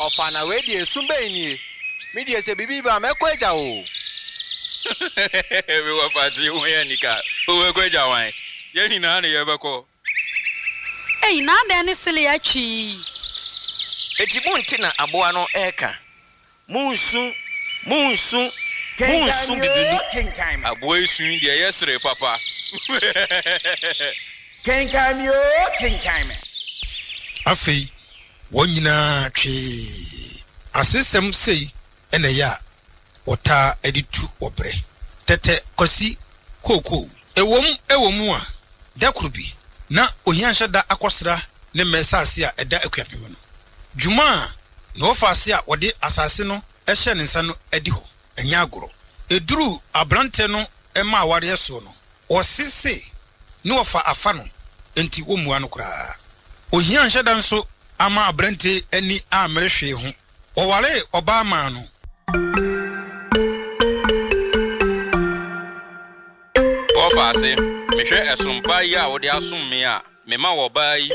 Ɔfa na wei deɛ esu bɛn nie? Me deɛ sɛ biribi ba a mɛkɔ agya wo o. Me wɔfa se wo yɛ nika, wobɛkɔ agya wan? Yɛn nyinaa ne yɛbɛkɔ. Ei na adɛn ne sele atwi yi? Enti monte na aboa no reka, Monsu, monsu, Kenkan monsu me oo, bibini. kenkan me. Aboa yi su yi deɛ ɛyɛ sere papa. Kenkan me oo, kenkan me. Afei wɔn nyinaa twee. Asesɛm sei na ɛyɛ a wɔtaa de tu ɔbrɛ. Tɛtɛ Kwasi Kookoo. Ɛwom wɔ mu a, da koro bi, na ohia nhyɛ da akɔsra ne mmɛ saase a ɛda Akuapem no. Dwuma a na wɔfa ase a wɔde asase no hyɛɛ ne nsa no adi hɔ, ɛnyɛ agorɔ. Ɛduruu aberanteɛ no mma awareɛ soɔ no, ɔse se ne wɔfa afa no, enti wɔmmua no koraa. Ohia nhyɛ da nso amma aberanteɛ yi ani ammere hwee ho. Wɔwaree ɔbaa maa no. Wɔfa ase, Mehwɛ ɛsom pa yi a wode asom me a, mema wo ɔbaa yi.